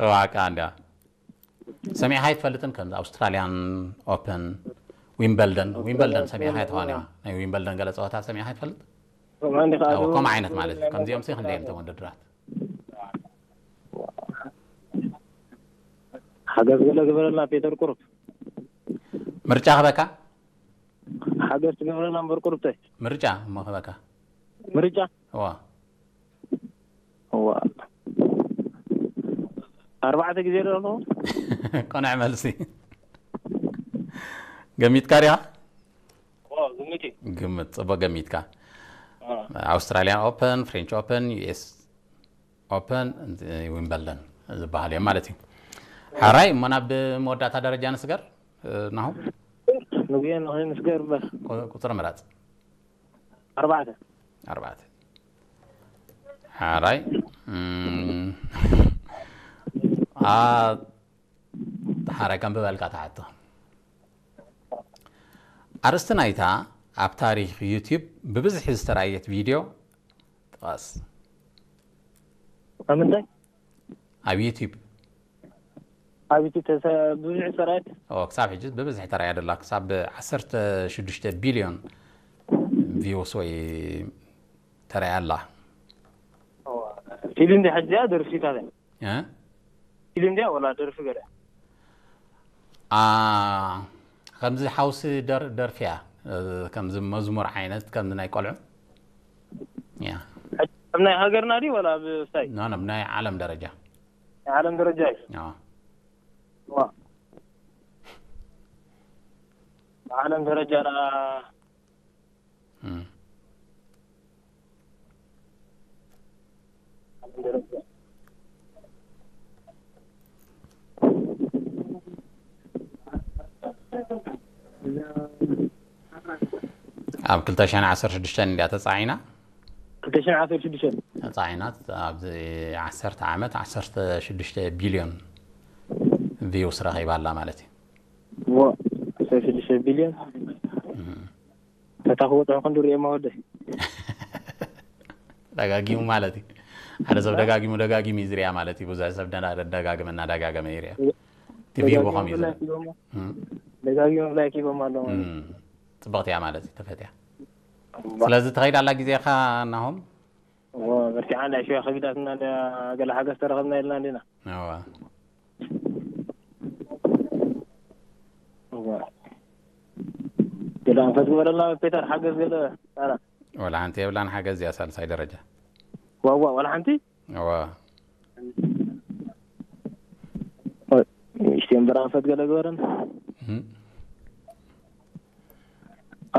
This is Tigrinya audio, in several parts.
ዋቃ እንዳ ሰሚዕካ ኣይትፈልጥን? ከምዚ ኣውስትራልያን ኦፕን፣ ዊምበልደን። ዊምበልደን ሰሚዕካ ኣይትኾን? ናይ ዊምበልደን ገለ ፀወታ ሰሚዕካ ኣይትፈልጥ? ከምኡ ዓይነት ማለት እዩ። ከምዚኦም ሲ ክንደይ እዮም እቶም ውድድራት? ሓገዝ ገለ ግበረልና ፔተር ቁሩብ። ምርጫ ክበካ? ሓገዝ ትገብረና እምበር ቁሩብ ታይ? ምርጫ እሞ ክበካ? ምርጫ? እዋ። እዋ። ኣርባዕተ ግዜ ዶ ኣለዎ? ቆንዕ መልሲ። ገሚትካ ዲኻ? እዋ፣ ግምት እዩ። ግምት፣ ጽቡቕ ገሚትካ። እዋ። ኣውስትራልያን ኦፕን፣ ፍሬንች ኦፕን፣ ዩ ኤስ ኦፕን፣ ዊምበልደን ዝበሃል እዮም ማለት እዩ። ሓራይ እሞ ናብ መወዳእታ ደረጃ ንስገር። ናሁ ንጉየ ንኽእል ንስገር እምበር። ቁ- ቁፅሪ ምራፅ። ኣርባዕተ። ኣርባዕተ። ሓራይ እም፣ ኣ ሓራይ ከም ብበልካ ተሓቶ። ኣርእስቲ ናይታ ኣብ ታሪኽ ዩቲዩብ ብብዝሒ ዝተራየት ቪድዮ ጥቀስ። ኣብ ምንታይ? ኣብ ዩቲዩብ ኣብ ዩቲዩብ ተሰ- ብዙሕ ዝተራየት? ኦ፣ ክሳብ ሕጂ ብብዝሒ ተራያ ደላ፣ ክሳብ ዓሰርተ ሽዱሽተ ቢልዮን ቪውስ ወይ ተራያ ኣላ። ፊልም እንዲ ሕጂ እያ ደርፊታት እያ? እ? ፊልም እንዲያ ወላ ደርፊ ገለ? ኣ፣ ከምዚ ሓውሲ ደር- ደርፊ እያ፣ እ፣ ከምዚ መዝሙር ዓይነት፣ ከምዚ ናይ ቆልዑ እያ። ኣብ ናይ ሃገርና ድዩ ወላ ኣብ ስታይ? ኖ ኖ፣ ብናይ ዓለም ደረጃ። ናይ ዓለም ደረጃ እዩ። ኖ። ዋ። ብዓለም ደረጃ ደኣ እም። ኣብ ክልተ ሽሕን ዓሰርተ ሽዱሽተን እንድያ ተጻዒና። ክልተ ሽሕን ዓሰርተ ሽዱሽተን። ተጻዒና ኣብዚ ዓሰርተ ዓመት ዓሰርተ ሽዱሽተ ቢልዮን ቪውስ ረኺባ ኣላ ማለት እዩ። ዋ፣ ዓሰርተ ሽዱሽተ ቢልዮን። እም። ተታ ክወጥሑ ክንዲ ርእየማ ወደይ። ደጋጊሙ ማለት እዩ። ሓደ ሰብ ደጋጊሙ ደጋጊሙ እዩ ዝሪኣ ማለት እዩ። ብዙሕ ሰብ ደና- ደጋግመ እናደጋገመ ይሪኣ። እቲ ቪው ብኸም እዩ ዘሎ። እም። ደጋጊሙ ላይክ ሂቦም ኣለዉ ማለት እዩ። እም። ጽብቕቲ እያ ማለት እዩ። ተፈትያ። ስለዚ ትኸይድ ኣላ ግዜኻ ናሆም? እዎ፣ በርቲዓ እንዳ ሽዋ ከቢዳትና እንዳ ገለ ሓገዝ ተረኸብና ኢልና እንዲና። እዋ። እዎ። ገለ ኣንፈት ግበረልና ፔተር፣ ሓገዝ ገለ ኣላ። ወላ ሓንቲ የብላን ሓገዝ እያ ሳልሳይ ደረጃ። ዋዋ፣ ዋላ ሓንቲ? እዋ። ኦይ፣ ንእሽተይ እምበር ኣንፈት ገለ ግበረን። እም።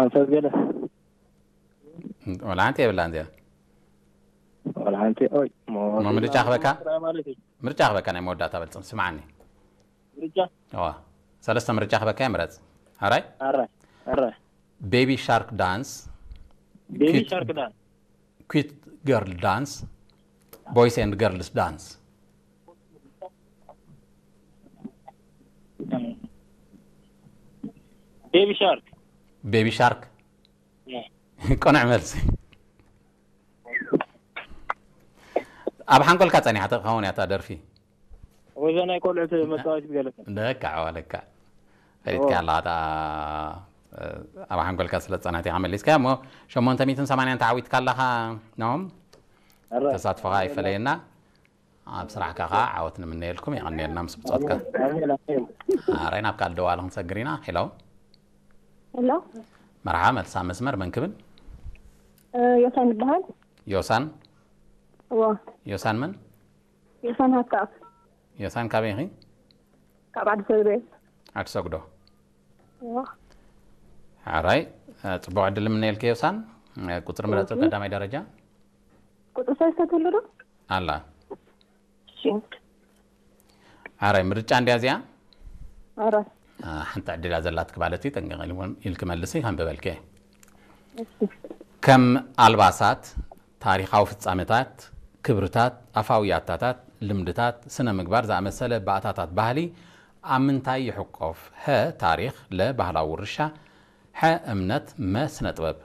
ኣንፈት ገለ። ወላ ሓንቲ የብላን እዚኣ። ዋላ ሓንቲ፣ ኦይ፣ ሞ- ሞ ምርጫ ክበካ? ማለት እዩ። ምርጫ ክበካ ናይ መወዳእታ በልጽን ስምዓኒ። ምርጫ? እዋ። ሰለስተ ምርጫ ክበካ እየ ምረጽ። ኣራይ? ኣራይ፣ ኣራይ። ቤቢ ሻርክ ዳንስ፣ ቤቢ ኪት- ሻርክ ዳንስ። ኪት ገርል ዳንስ፣ ቦይስ ኤንድ ገርልስ ዳንስ። ቤቢ ሻርክ። ቤቢ ሻርክ። ያ። ቅኑዕ መልሲ። ኣብ ሓንጎልካ ጸኒሓ ትኸውን እያ እታ ደርፊ። ወዛ ናይ ቆልዑት መጻወቲት ገለ። ለካ ለካ ፈሊጥካ ኣለኻ እታ ኣብ ሓንጎልካ ስለ ዝጸናሕት ኢኻ መሊስካ እሞ ሸሞንተ ሚእትን ሰማንያን ተዓዊትካ ኣለኻ። ኖም ኣረ። ተሳትፎኻ ይፈለየና። ኣብ ስራሕካ ከዓ ዓወት ንምነየልኩም። የቐንየልና ምስ ብጾትካ። ኣሜን፣ ኣሜን። ኣራይ ናብ ካልእ ደዋሊ ክንሰግር ኢና። ሄሎ ሄሎ መርሓ መልሳ መስመር መን ክብል? እ፣ ዮሳን ይበሃል። ዮሳን እዎ ዮሳን መን? ዮሳን ሃብተኣብ ዮሳን ካበይ ኢኺ? ካብ ዓዲ ሰግዶ እየ። ዓዲ ሰግዶ። እዎ ሓራይ ጽቡቕ ዕድል ንምነየልኪ ዮሳን። ቁጽሪ ምረጽ ቀዳማይ ደረጃ ቁፅሪ ሰለስተ ትህሉ ዶ? ኣላ። እሺ ሓራይ ምርጫ እንድያ እዚኣ። ኣረ ሓንቲ ዕድላ ዘላትኪ ማለት እዩ። ጠንቀቕ ኢልክመልሲ ከንብበልኪ እየ። እሺ ከም ኣልባሳት፣ ታሪኻዊ ፍጻመታት፣ ክብርታት፣ ኣፋዊ ያታታት፣ ልምድታት፣ ስነ ምግባር ዝኣመሰለ ባእታታት ባህሊ ኣብ ምንታይ ይሕቆፍ? ሀ ታሪኽ፣ ለ ባህላዊ ውርሻ፣ ሐ እምነት፣ መ ስነ ጥበብ።